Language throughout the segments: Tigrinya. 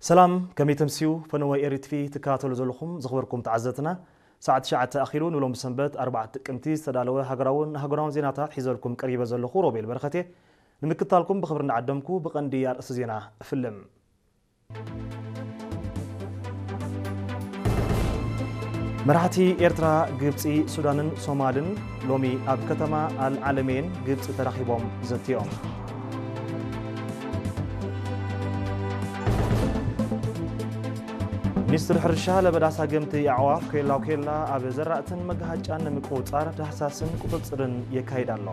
ሰላም፣ ከመይ ተምስዩ? ፈነወ ኤሪ ቲቪ ትከታተሉ ዘለኹም ዝኽበርኩም ተዓዘብትና፣ ሰዓት ትሽዓተ ኣኺሉ ንሎም ሰንበት ኣርባዕተ ጥቅምቲ ዝተዳለወ ሃገራውን ሃገራውን ዜናታት ሒዘልኩም ቀሪበ ዘለኹ ሮቤል በረኸቴ። ንምክታልኩም ብኽብሪ እናዓደምኩ ብቐንዲ ኣርእስቲ ዜና እፍልም። መራሕቲ ኤርትራ፣ ግብጺ፣ ሱዳንን ሶማልን ሎሚ ኣብ ከተማ ኣልዓለሜን ግብጺ ተራኺቦም ዘትዮም። ሚኒስትሪ ሕርሻ ለበዳ ሳገምቲ ኣዕዋፍ ኬላ ኬላ ኣብ ዘራእትን መጋሃጫን ንምቁጽጻር ዳህሳስን ቁጽጽርን የካይድ ኣሎ።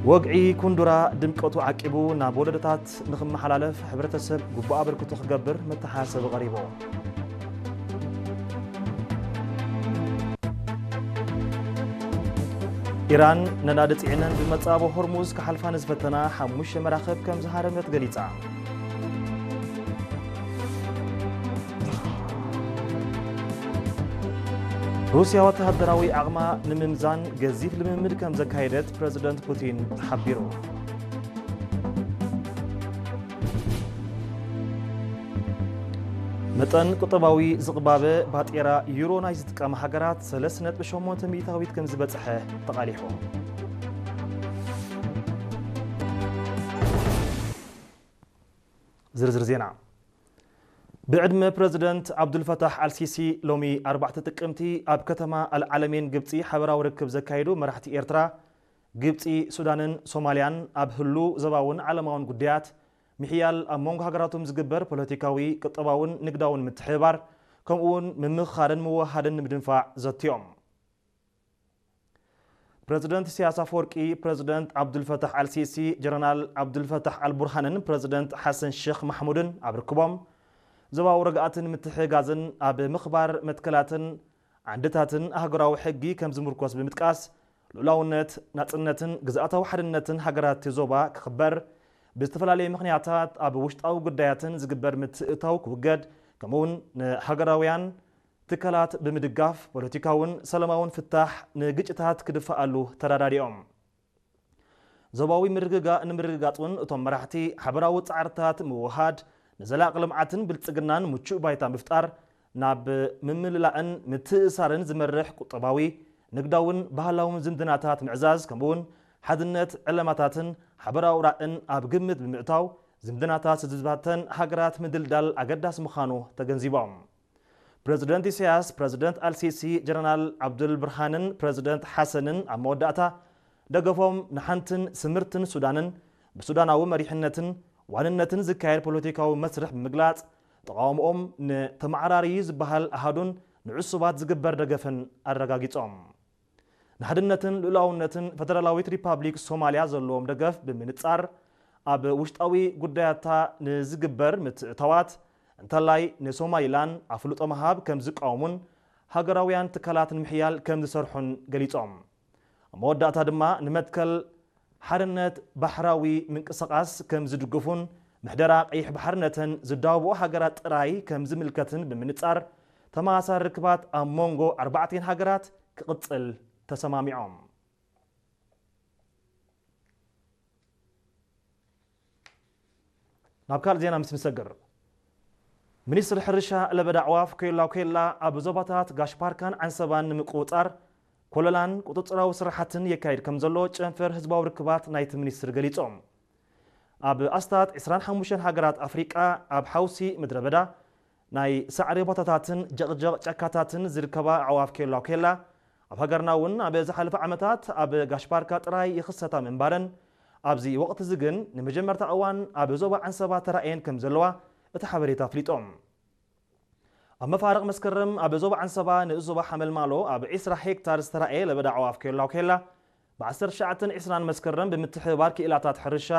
ወግዒ ኩንዱራ ድምቀቱ ዓቂቡ ናብ ወለዶታት ንኽመሓላለፍ ሕብረተሰብ ግቡእ ኣበርክቶ ክገብር መተሓሳሰቢ ቀሪቡ። ኢራን ነዳዲ ጽዒነን ብመጻቦ ሆርሙዝ ክሓልፋ ንዝፈተና ሓሙሽተ መራኽብ ከም ዝሃረመት ገሊጻ። ሩስያ ወተሃደራዊ ዓቕማ ንምምዛን ገዚፍ ልምምድ ከም ዘካየደት ፕረዚደንት ፑቲን ሓቢሩ። መጠን ቁጠባዊ ዝቕባበ ባጤራ ዩሮ ናይ ዝጥቀማ ሃገራት ሰለስተ ነጥቢ ሸሞንተ ሚእታዊት ከም ዝበጽሐ ተቓሊሑ። ዝርዝር ዜና። ብዕድመ ፕረዚደንት ዓብዱልፈታሕ ኣልሲሲ ሎሚ ኣርባዕተ ጥቅምቲ ኣብ ከተማ ኣልዓለሜን ግብጺ ሓበራዊ ርክብ ዘካየዱ መራሕቲ ኤርትራ፣ ግብጺ፣ ሱዳንን ሶማልያን ኣብ ህሉ ዘባውን ዓለማውን ጉዳያት ምሕያል ኣብ መንጎ ሃገራቶም ዝግበር ፖለቲካዊ፣ ቁጠባውን ንግዳውን ምትሕብባር ከምኡ እውን ምምኽኻርን ምውሃድን ንምድንፋዕ ዘትዮም። ፕረዚደንት ኢሳያስ ኣፈወርቂ፣ ፕረዚደንት ዓብዱልፈታሕ ኣልሲሲ፣ ጀነራል ዓብዱልፈታሕ ኣልቡርሃንን ፕረዚደንት ሓሰን ሼኽ ማሕሙድን ኣብ ርክቦም፣ ዞባዊ ርግኣትን ምትሕግጋዝን ኣብ ምኽባር መትከላትን ዓንድታትን ኣህጉራዊ ሕጊ ከም ዝምርኮስ ብምጥቃስ፣ ልኡላውነት፣ ናጽነትን ግዝኣታዊ ሓድነትን ሃገራት እቲ ዞባ ክኽበር፣ ብዝተፈላለየ ምኽንያታት ኣብ ውሽጣዊ ጉዳያትን ዝግበር ምትእትታው ክውገድ፣ ከምኡውን ንሃገራውያን ትካላት ብምድጋፍ ፖለቲካውን ሰላማውን ፍታሕ ንግጭታት ክድፋኣሉ ተረዳዲኦም። ዞባዊ ምርግጋእ ንምርግጋጽ እውን እቶም መራሕቲ ሓበራዊ ጻዕርታት ምውሃድ፣ ንዘላቂ ልምዓትን ብልጽግናን ምቹእ ባይታ ምፍጣር፣ ናብ ምምልላእን ምትእሳርን ዝመርሕ ቁጠባዊ፣ ንግዳውን ባህላውን ዝምድናታት ምዕዛዝ፣ ከምኡውን ሓድነት ዕለማታትን ሓበራዊ ራእን ኣብ ግምት ብምእታው፣ ዝምድናታት ህዝብታተን ሃገራት ምድልዳል ኣገዳሲ ምዃኑ ተገንዚቦም። ፕረዚደንት ኢሳያስ፣ ፕረዚደንት ኣልሲሲ፣ ጀነራል ዓብዱል ብርሃንን ፕረዚደንት ሓሰንን ኣብ መወዳእታ ደገፎም ንሓንትን ስምርትን ሱዳንን ብሱዳናዊ መሪሕነትን ዋንነትን ዝካየድ ፖለቲካዊ መስርሕ ብምግላጽ፣ ተቓውሞኦም ንተመዓራርዩ ዝበሃል ኣሃዱን ንዕሱባት ዝግበር ደገፍን ኣረጋጊጾም። ንሓድነትን ልኡላውነትን ፈደራላዊት ሪፓብሊክ ሶማልያ ዘለዎም ደገፍ ብምንጻር፣ ኣብ ውሽጣዊ ጉዳያታ ንዝግበር ምትእታዋት፣ እንተላይ ንሶማሊላንድ ኣፍልጦ ምሃብ ከም ዝቃወሙን ሃገራውያን ትካላት ንምሕያል ከም ዝሰርሑን ገሊጾም። ኣብ መወዳእታ ድማ ንመትከል ሓርነት ባሕራዊ ምንቅስቓስ ከም ዝድግፉን ምሕደራ ቀይሕ ባሕሪ ነተን ዝዳወብኦ ሃገራት ጥራይ ከም ዝምልከትን ብምንጻር፣ ተመሳሳሊ ርክባት ኣብ መንጎ ኣርባዕቲኤን ሃገራት ክቕጽል ተሰማሚዖም። ናብ ካልእ ዜና ምስ ንሰግር፣ ሚኒስትሪ ሕርሻ ለበዳ ኣዕዋፍ ኬላ ኬላ ኣብ ዞባታት ጋሽ ባርካን ዓንሰባን ንምቁጽጻር ኮለላን ቁጽጽራዊ ስራሕትን የካይድ ከም ዘሎ ጨንፈር ህዝባዊ ርክባት ናይቲ ሚኒስትሪ ገሊጾም። ኣብ ኣስታት ዕስራን ሓሙሽተን ሃገራት ኣፍሪቃ ኣብ ሓውሲ ምድረ በዳ ናይ ሳዕሪ ቦታታትን ጀቕጀቕ ጫካታትን ዝርከባ ኣዕዋፍ ኬላ ኬላ፣ ኣብ ሃገርና እውን ኣብ ዝሓለፈ ዓመታት ኣብ ጋሽ ባርካ ጥራይ ይኽሰታ ምንባረን፣ ኣብዚ ወቕቲ እዚ ግን ንመጀመርታ እዋን ኣብ ዞባ ዓንሰባ ተራእየን ከም ዘለዋ እቲ ሓበሬታ ኣፍሊጦም። ኣብ መፋርቕ መስከረም ኣብ ዞባ ዓንሰባ ንኡስ ዞባ ሓመልማሎ ኣብ ዕስራ ሄክታር ዝተራእየ ለበዳ ኣዕዋፍ ኬላ ኬላ፣ ብ ዓሰርተ ትሽዓተን ዕስራን መስከረም ብምትሕብባር ክኢላታት ሕርሻ